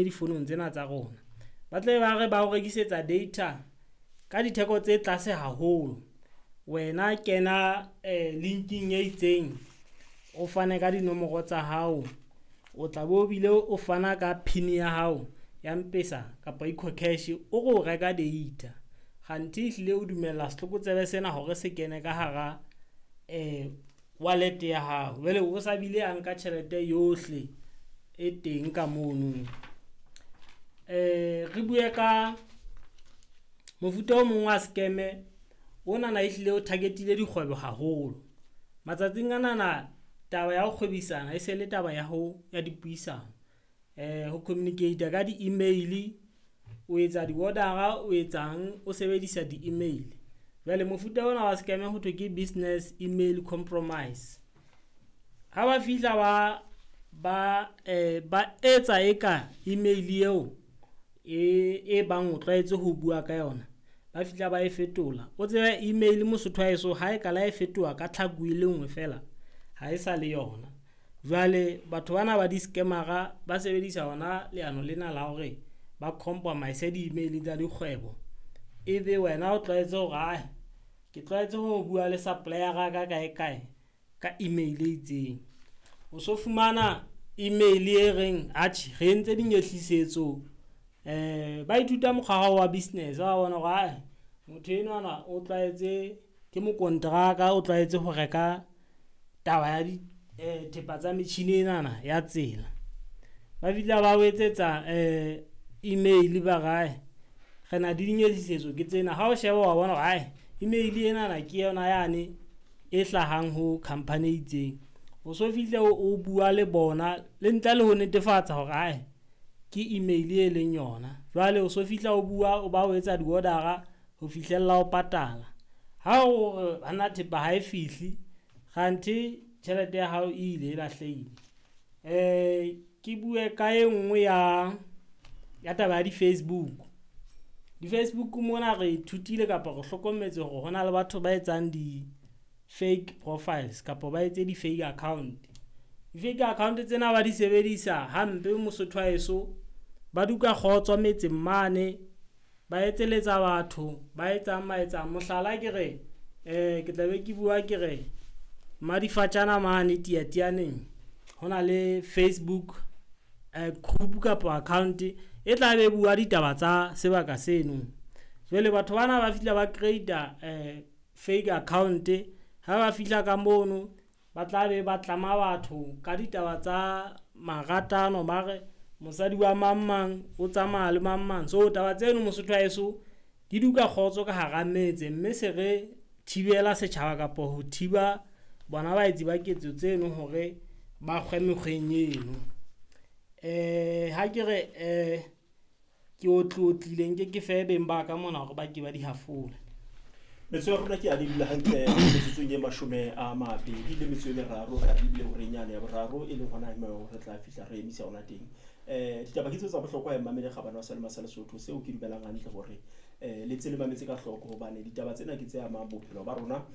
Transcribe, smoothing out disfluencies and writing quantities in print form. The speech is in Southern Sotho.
Difounung tsena tsa rona. Ba tlabe ba re ba o rekisetsa data ka ditheko tse tlase haholo. Wena kena link-ing e itseng, o fane ka dinomoro tsa hao. O tla be o bile o fana ka pin ya hao ya Mpesa kapa Ecocash o re o reka data. Kganthe ehlile o dumella setlokotsebe sena hore se kene ka hara wallet ya hao. Jwale o sa bile a nka tjhelete yohle e teng ka mono. Re bue ka mofuta o mong wa scam onana ehlile o target-ile dikgwebo haholo. Matsatsing anana taba ya ho kgwebisano e se le taba ya ho ya dipuisano. Ho communicate-a ka di-email, o etsa di-order-a, o etsang o sebedisa di-email. Jwale mofuta ona wa scam ho thwe ke business email compromise. Ha ba fihla ba etsa eka email eo e bang o tlwaetse ho bua ka yona, ba fihla ba e fetola. O tsebe email Mosotho wa heso ha e ka le ha e fetoha ka tlhaku e le nngwe feela ha e sa le yona. Jwale batho bana ba di-scammer-a ba sebedisa hona leano lena la hore ba compromise di-email tsa dikgwebo. Ebe wena o tlwaetse hore ae ke tlwaetse ho bua le supplier-a ya ka kae kae ka email e itseng. O so fumana email e reng atjhe re entse dinyehlisetso. Ba ithuta mokgwa wa hao wa business wa bona hore ae motho enwana o tlwaetse ke mokonteraka, o tlwaetse ho reka taba ya dithepa tsa metjhini enana ya tsela. Ba fihla ba o etsetsa email ba re ae re na le dinyehlisetso ke tsena. Ha o sheba wa bona hore ae email enana ke yona yane e hlahang ho company e itseng. O so fihle o bua le bona le ntle le ho netefatsa hore ae ke email e leng yona. Jwale o so fihla o bua, o ba o etsa di-order-a ho fihlella o patala. Ha o re banna thepa ha e fihle kganthe tjhelete ya hao e ile e lahlehile. Ke bue ka e nngwe ya taba ya di-Facebook. Di-Facebook mona re ithutile kapa re hlokometse hore hona le batho ba etsang di-fake profiles kapa ba etse di-fake account. Di-fake account tsena ba di sebedisa hampe Mosotho wa heso. Ba duka kgotso metseng mane, ba etselletsa batho ba etsang maetsang. Mohlala, ke re ke tla be ke bua ke re Madifatjana mane Teyateyaneng ho na le Facebook group kapa account e tla be e bua ditaba tsa sebaka seno. Jwale batho bana ba fihla ba create-a fake account. Ha ba fihla ka mono, ba tla be ba tlama batho ka ditaba tsa maratano, ba re mosadi wa mang mang o tsamaya le mang mang. So taba tseno Mosotho wa heso di duka kgotso ka hara metse. Mme se re thibela setjhaba kapa ho thiba bona baetsi ba ketso tseno hore ba kgwe mekgweng eno. Ha ke re ke otlotlile nke ke fe beng ba ka mona hore ba ke ba di hafole. Metso ya rona ke a dula hantle metsotsong e 23 re lebile horeng yane ya boraro, e leng hona moo re tla fihla re emisa hona teng. Ditaba ke tseo tsa bohlokwa ya mmamele kgabane wa Selema sa Lesotho seo ke dumelang hantle hore le tse le mametse ka hloko hobane ditaba tsena ke tse amang bophelo ba rona ba.